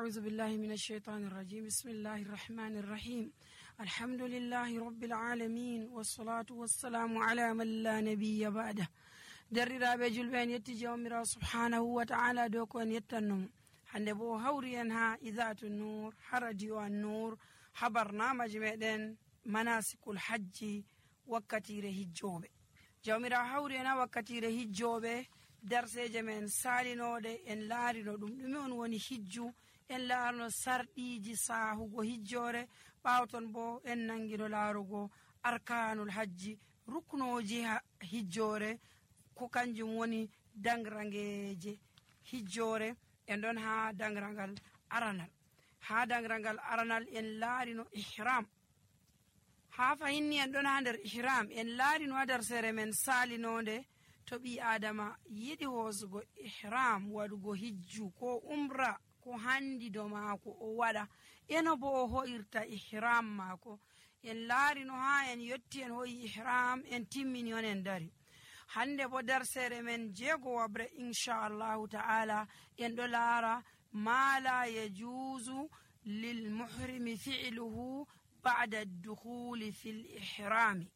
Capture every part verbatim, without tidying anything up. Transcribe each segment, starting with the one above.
أعوذ بالله من الشيطان الرجيم بسم الله الرحمن الرحيم الحمد لله رب العالمين والصلاة والسلام على من لا نبي بعده دررaaɓe julɓe en yetti jawmirawo subhanahu wa ta'ala dow ko en yettannomo hande bo hawri en ha idatu nur ha radio an nur ha barnamaji meɗen manasikul hajji wakkatire hijjoɓe. jawmirawo hawri en ha wakkatire hijjoɓe darseje men salinoɗe en laarino ɗum ɗume on woni hijju, en laarno sarɗiji sahugo hijjore, ɓawton bo en nangino laarugo arkanul hajji, ruknoji hijjore ko kanjum woni dangrangeje hijjore. en ɗon ha dangrangal aranal ha dangrangal aranal en laarino ihram. ha fahinni en ɗon ha nder ihram en laarino ha darsere men salinode to ɓi adama yiɗi hoosugo ihram waɗugo hijju ko umra ko handi do maako o waɗa eno bo o ho'irta ihram maako. en laarino ha en yotti en hoyi ihram en timmini on en dari. hande bo darsere men jeego wabre inchallahu ta'ala en ɗo laara ma la yajuzu lil muhrimi fi'luhu ba'da ad-dukhuli fil ihrami.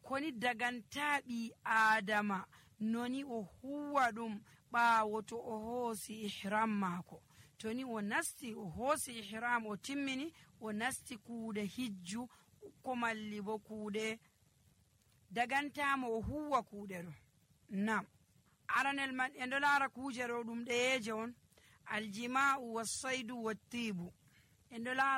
koni dagantaɓi adama noni o huwa ɗum ɓaawo to o hoosi ihram maako. toni o nasti o hoosi ihram o timmini o nasti kuuɗe hijju ko malli bo kuuɗe dagantamo o huwa kuuɗe ɗo. nam aranel man en ɗo laara kuuje ɗo ɗum ɗeyeje on: aljima'u wassaydu wattibu. en ɗo laara